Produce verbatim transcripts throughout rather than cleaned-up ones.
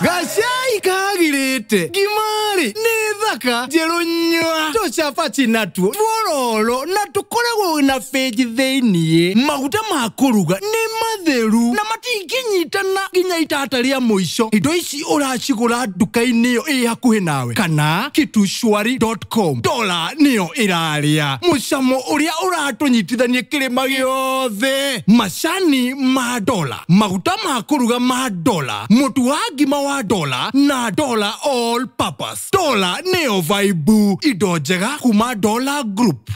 Gacai kagirĩte ngimari nĩ thaka njerũ nyua tũcabaci natuo twororo na tũkoragwo na benji thĩiniĩ. Maguta ma kũruga nĩ matheru na matingĩnyitana nginya itata rĩa mũico. Indo ici ũracigũra nduka-inĩ ĩyo ĩ hakuhĩ nawe kana kitushwari dot com. Dola nĩyo ĩrarĩa mũcamo ũrĩa ũratũnyitithania kĩrĩma gĩothe. Macani ma dola, maguta ma kũruga ma dola, mũtu wa ngima wa dola na dola all purpose. Dola nĩyo vibe, indo njega kuma Dola Group.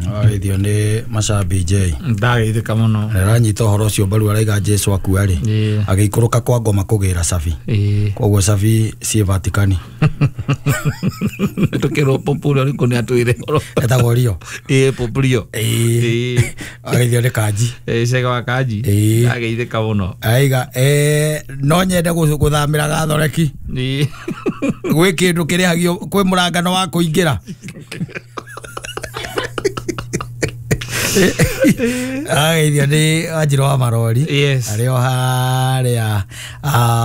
Agithio nĩ Macabi J. Ndagĩithĩka mũno. Nĩaranyita ũhoro ũcio mbaru araiga Jesu akua rĩ. Agĩikũrũka kwa ngoma kũgĩra cabi. Koguo cabi ciĩ Vatikani. Tũkĩrwo Pope ũrĩa ũrĩkũ nĩ atwĩre ũhoro. Etagwo Rio. Ĩĩ Pope Rio. Ĩĩ. Agĩthio nĩ Kanji. Ĩĩ cega wa Kanji. Ĩĩ. Ndagĩithĩka mũno. Aiga no nyende gũthamĩra Gathoreki. Ĩĩ. Gwĩ kĩndũ kĩrĩhagio kwĩ mũrangano wa kũingĩra. Agithio nĩ Wanjirũ wa Marori. Yes. Arĩ o harĩa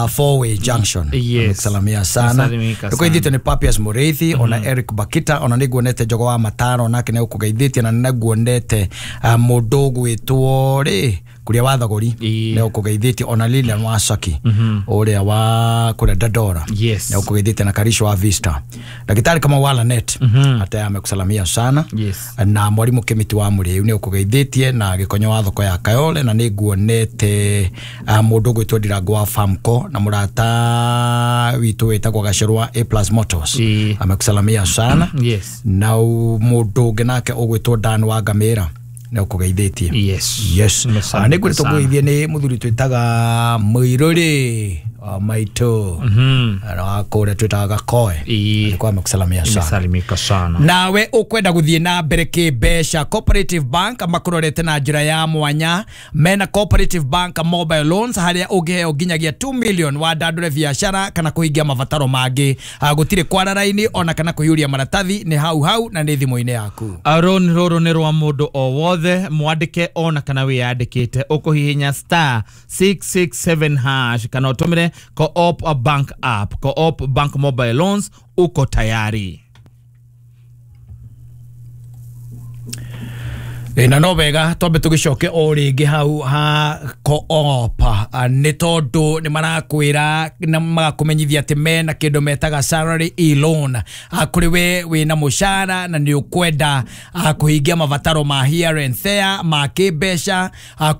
Four Way Junction. Yes. Salamia sana. Nĩkũgeithĩtio nĩ Papias Mũrĩithi ona Eric Bakita ona nĩnguonete Njogo wa Mataro nake nĩũkũgeithĩtie na nĩnguonete mũndũ ũgwĩtwo rĩ kuria wa Thogori nĩũkũgeithĩtie ona Lilian wa Saki ũrĩa wa kũrĩa Dandora nĩũkũgeithĩtie na Karisho wa Vista. Daktari kama wa Lanet hata amekusalamia sana. Yes. Na mwalimu Kimiti wa Mũrĩu nĩũkũgeithĩtie na Gĩkonyo wa thoko ya Kayole na nĩnguonete mũndũ ũgwĩtwo Ndirango wa Famco na mũrata witũ wĩtagwo Gacĩrũ wa A Plus Motors amekusalamia sana. Yes. Na mũndũ ũngĩ nake ũgwĩtwo Dan wa Ngamĩra nĩũkũgeithĩtie. Yes. Yes. Nĩngwĩrĩtwo kũgeithie nĩ mũthuri twĩtaga Mũirũrĩ wa maitũ na kũrĩa twĩtaga Gakoe. Alikuwa amekusalamia sana. Imesalimika sana. Nawe ũkwenda gũthiĩ na mbere kĩmbeca, Cooperative Bank makũrorete na njĩra ya mwanya. Mena Cooperative Bank mobile loans harĩa ũngĩheo nginyagia two million wandandũre biacara kana kũhingia mabataro mangĩ. Gũtirĩ kwara raini ona kana kũiyũria maratathi, nĩ hau hau na nĩ thimũ-inĩ yaku. Rũni rũrũ nĩ rwa mũndũ o wothe mwandĩke ona kana wĩyandĩkĩte. Ũkũhihinya star six six seven hash kana ũtũmĩre Co-op Bank app. Co-op Bank mobile loans, uko tayari. Na no wega twambe tũgĩcoke o rĩngĩ hau ha Co-op nĩ tondũ nĩ marakwĩra na magakũmenyithia atĩ mena kĩndũ metaga salary e-loan. Kũrĩ we wĩna mũcara na nĩ ũkwenda kũhingia mabataro ma here and there ma kĩmbeca,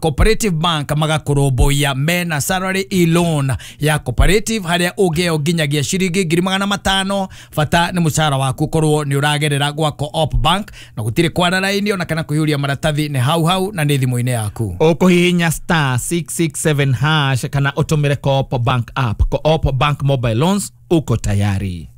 Cooperative Bank magakũrũmbũiya. Mena salary e-loan ya Cooperative harĩa ũngĩheo nginyagia ciringi ngiri magana matano. Bata nĩ mũcara waku ũkorwo nĩ ũragerera gwa Co-op Bank na gũtirĩ kwara raini ona kana kũiyũria maratathi, nĩ hau hau na nĩ thimũ-inĩ yaku. Ũkũhihinya star six six seven hash kana ũtũmĩre Co-op Bank app. Co-op Bank mobile loans, uko tayari.